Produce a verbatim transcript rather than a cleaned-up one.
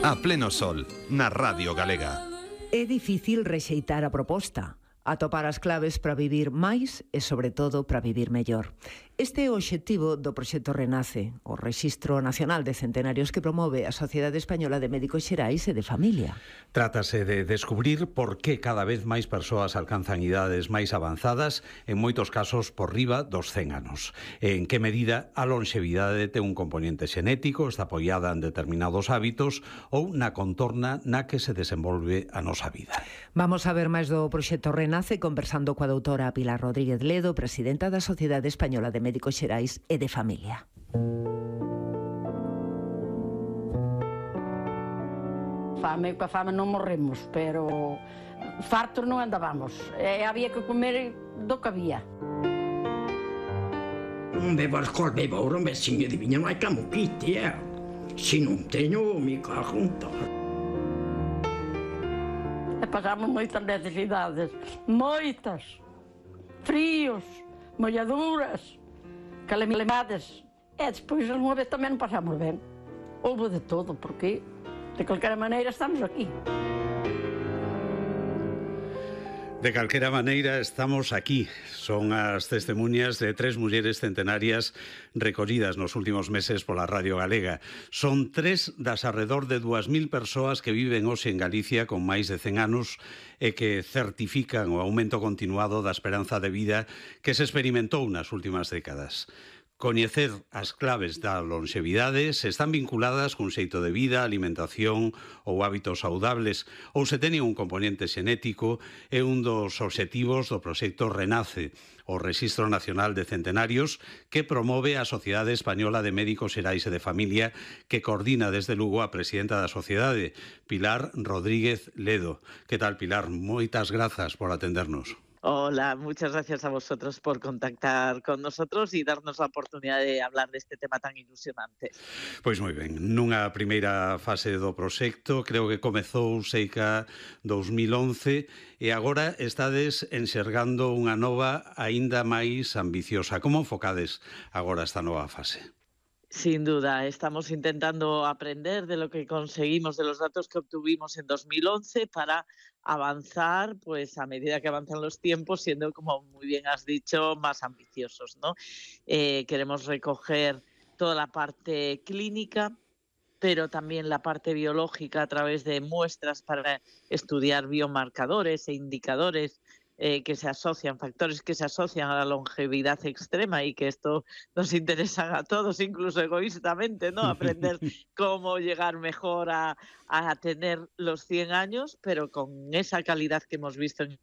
A pleno sol, na Radio Galega. É difícil rexeitar a proposta, atopar as claves para vivir máis e, sobre todo, para vivir mellor. Este é o obxectivo do proxecto Renace, o Rexistro Nacional de Centenarios que promove a Sociedade Española de Médicos Xerais e de Familia. Trátase de descubrir por que cada vez máis persoas alcanzan idades máis avanzadas, en moitos casos por riba dos cen anos. E en que medida a longevidade ten un componente xenético, está apoiada en determinados hábitos ou na contorna na que se desenvolve a nosa vida. Vamos a ver máis do proxecto Renace conversando coa doutora Pilar Rodríguez Ledo, presidenta da Sociedade Española de Médicos Xerais e de Familia. Fame, coa fame non morremos, pero fartos non andábamos. E había que comer do que había. Non bebo alcohol, bebo ouro, un veciño de viña, non hai camo quite, eh? Se non teño, me cago en tal. E pasamos moitas necesidades, moitas. Fríos, molladuras, calamidades. E despois, algunha vez tamén non pasamos ben. Houve de todo, porque de calquera maneira estamos aquí. De calquera maneira estamos aquí. Son as testemunhas de tres mulleres centenarias recollidas nos últimos meses pola Radio Galega. Son tres das arredor de dúas mil persoas que viven hoxe en Galicia con máis de cen anos e que certifican o aumento continuado da esperanza de vida que se experimentou nas últimas décadas. Coñecer as claves da longevidade se están vinculadas cun xeito de vida, alimentación ou hábitos saudables, ou se teñen un componente xenético, é un dos obxectivos do proxecto Renace, o Rexistro Nacional de Centenarios, que promove a Sociedade Española de Médicos Xerais e de Familia, que coordina desde Lugo a presidenta da sociedade, Pilar Rodríguez Ledo. Que tal, Pilar? Moitas grazas por atendernos. Hola, muchas gracias a vosotros por contactar con nosotros y darnos la oportunidad de hablar de este tema tan ilusionante. Pois moi ben, nunha primeira fase do proxecto, creo que comezou seica dos mil once e agora estades enxergando unha nova aínda máis ambiciosa. Como enfocades agora esta nova fase? Sin duda, estamos intentando aprender de lo que conseguimos, de los datos que obtuvimos en dos mil once para avanzar, pues a medida que avanzan los tiempos, siendo, como muy bien has dicho, más ambiciosos, ¿no? Eh, queremos recoger toda la parte clínica, pero también la parte biológica a través de muestras para estudiar biomarcadores e indicadores Eh, que se asocian, factores que se asocian a la longevidad extrema y que esto nos interesa a todos, incluso egoístamente, ¿no? Aprender cómo llegar mejor a, a tener los cien años, pero con esa calidad que hemos visto en